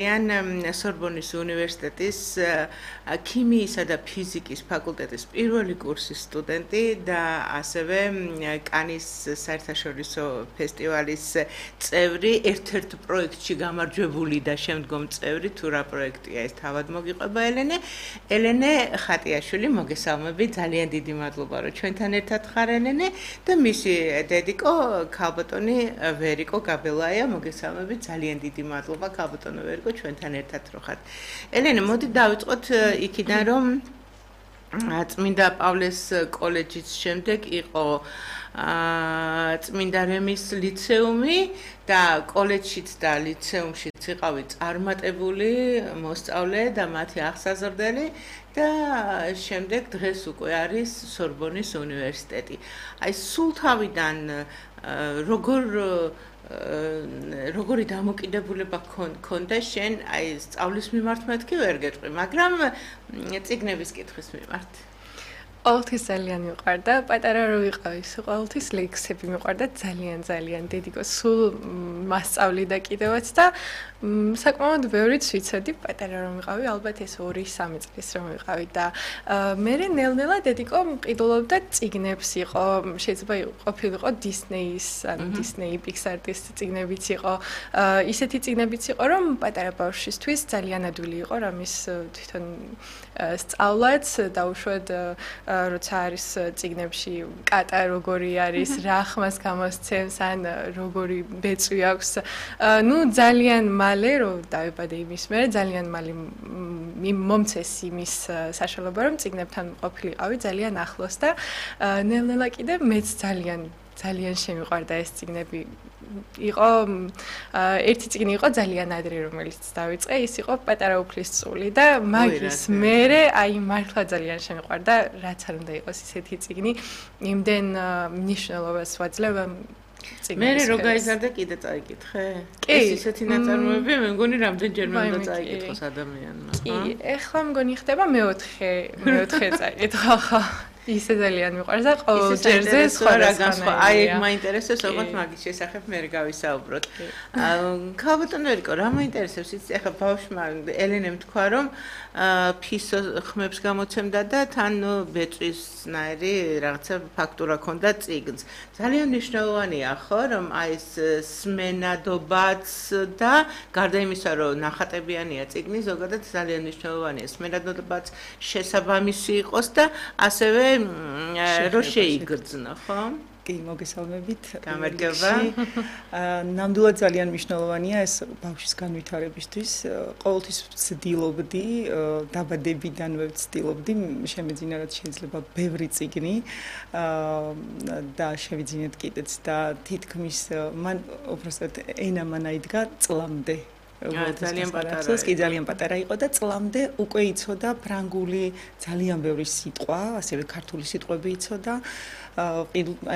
სორბონის უნივერსიტეტის ქიმიისა და ფიზიკის ფაკულტეტის პირველი კურსის სტუდენტი და ასევე კანის საერთაშორისო ფესტივალის წევრი, ერთ-ერთ პროექტში გამარჯვებული და შემდგომ წევრი, თუ რა პროექტია ეს თავად მოგიყვება ელენე ხატიაშვილი, მოგესალმები, ძალიან დიდი მადლობა რომ ჩვენთან ერთად ხარ ელენე და მისი დედიკო ქალბატონი ვერიკო გაბელაია, მოგესალმები, ძალიან დიდი მადლობა ქალბატონო ვერიკო ჩვენთან ერთად რო ხართ. ელენე, მოდი დავიწყოთ იქიდან, რომ წმინდა პავლეს კოლეჯის შემდეგ იყო წმინდა რემის ლიცეუმი და კოლეჯშიც და ლიცეუმშიც იყავი წარმატებული მოსწავლე და მათი აღსაზრდელი და შემდეგ დღეს უკვე არის სორბონის უნივერსიტეტი. აი სულ თავიდან როგორი დამოკიდებულება ქონდა შენ აი სწავლის მიმართ მეთქი ვერ გეტყვი, მაგრამ წიგნების კითხვის მიმართ. ყოველთვის ძალიან მიყვარდა, პატარა რო ვიყავი, ყოველთვის ლექსები მიყვარდა ძალიან დედიკო, სულ მასწავლი და კიდევაც და საკმაოდ ბევრიც ვიცოდი, პატარა რომ ვიყავი, ალბათ ეს 2-3 წლის რომ ვიყავი და მე ნელ-ნელა დედიკო მყიდულობდა წიგნებს იყო, შეიძლება ყოფილიყო დისნეის, ანუ დისნეი პიქსარის წიგნებიც იყო, ისეთი წიგნებიც იყო, რომ პატარა ბავშვისთვის ძალიან ადვილი იყო, რამის თვითონ სწავლაც დაუშვად როცა არის წიგნებში კატა როგორი არის, რა ხმას გამოსცემს, ან როგორი ბეწვი აქვს. ნუ ძალიან მალე რომ დავიბადე იმის მერე, ძალიან მალე მომცეს იმის საშუალება, რომ წიგნებთან ყოფილიყავი ძალიან ახლოს და ნელ-ნელა კიდე მეც ძალიან შემიყვარდა ეს წიგნები. იყო ერთი წიგნი იყო ძალიან ადრე რომელიც დავიწყე, ის იყო პატარა უფლისწული და მაგის მერე აი მართლა ძალიან შემიყვარდა, რაც არ უნდა იყოს ისეთი წიგნი, იმდენ მნიშვნელობას ვაძლევ მერე რო გაიზარდა კიდე წაიკითხე? ეს ისეთი ნაწარმოები მე მგონი რამდენჯერმე უნდა წაიკითხოს ადამიანმა. კი, ეხლა მგონი ხდება მეოთხე წაიკითხო, ხო. ისე ძალიან მიყვარს და ყოველ ჯერზე სხვა რაღაცა. აი ეგ მაინტერესებს, ოღონდ მაგის შესახებ მე გავისაუბროთ. ქალბატონ ვერიკო, რა მაინტერესებს იცი, ახლა ბავშვმა ელენემ თქვა, რომ ფისო ხმებს გამოცემდა და თან ბეწვისნაირი რაღაცა ფაქტურა ქონდა წიგნს. ძალიან მნიშვნელოვანია ხო, რომ აი ეს სმენადობაც და გარდა იმისა, რომ ნახატებიანია წიგნი, ზოგადად ძალიან მნიშვნელოვანია სმენადობაც შესაბამისი იყოს და ასევე რო შეიგრძნო, ხო? კი, მოგესალმებით. გამარჯობა. ნამდვილად ძალიან მნიშვნელოვანია ეს ბავშვის განვითარებისთვის. ყოველთვის ვცდილობდი, დაბადებიდანვე ვცდილობდი, შემეძინა რაც შეიძლება ბევრი წიგნი და შევიძინეთ კიდეც და თითქმის მან უბრალოდ ენა მანაიდგა წლამდე. ძალიან პატარა იყო და წლამდე უკვე იცოდა ფრანგული ძალიან ბევრი სიტყვა, ასევე ქართული სიტყვები იცოდა.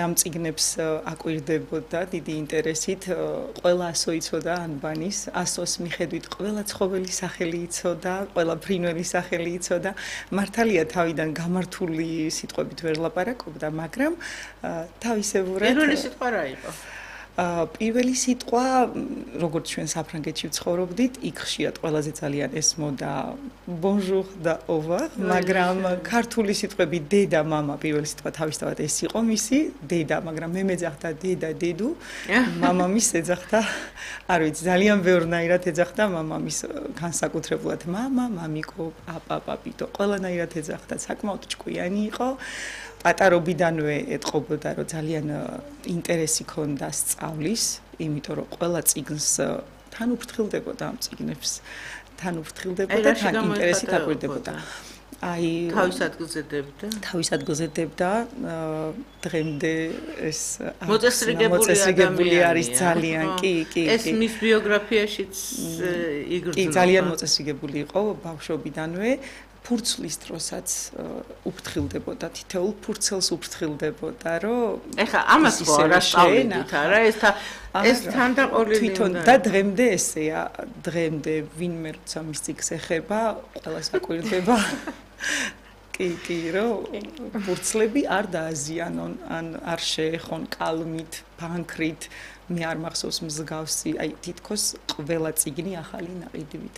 ამ წიგნებს აკვირდებოდა დიდი ინტერესით, ყველა ასო იცოდა ანბანის, ასოს მიხედვით ყველა ცხოველი სახელი იცოდა, ყველა ფრინველი სახელი იცოდა. მართალია თავიდან გამართული სიტყვებით ვერ ლაპარაკობდა, მაგრამ თავისებურად პირველი სიტყვა რა იყო? პირველი სიტყვა, როგორც ჩვენ საფრანგეთში ვცხოვრობდით, იქ ხშირად ყველაზე ძალიან ესმოდა bonjour და au revoir, მაგრამ ქართული სიტყვები დედა, მამა, პირველი სიტყვა თავისთავად ეს იყო მისი დედა, მაგრამ მე მეძახდა დედა, დედუ, მამამის ეძახდა, არ ვიცი, ძალიან ბევრნაირად ეძახდა მამამის განსაკუთრებულად მამა, მამიკო, პაპა, პაპიტო, ყველანაირად ეძახდა, საკმაოდ ჭკვიანი იყო. პატარობიდანვე ეტყობოდა, რომ ძალიან ინტერესი ქონდა სწავლის, იმიტომ რომ ყველა წიგნს თან უფრთხილდებოდა ამ წიგნებს, თან უფრთხილდებოდა, თან ინტერესით აკვირდებოდა. აი თავის ადგილზე დებდა, დღემდე ეს მოწესრიგებული არის ძალიან, კი. ეს მის ბიოგრაფიაშიც იგრძნობა. კი, ძალიან მოწესრიგებული იყო ბავშვობიდანვე. ფურცლის დროსაც უფრთხილდებოდა, თითოეულ ფურცელს უფრთხილდებოდა, რომ ეხა ამას ხო არ ასწავლით არა, ეს თანდაყოლილი თვითონ და დღემდე ესეა, დღემდე ვინმე როცა მის წიგნს ეხება, ყველას აკვირდება. კი, რომ ფურცლები არ დააზიანონ, ან არ შეეხონ კალმით, ფანქრით, მე არ მახსოვს მსგავსი, აი თითქოს ყველა წიგნი ახალი ნაყიდვით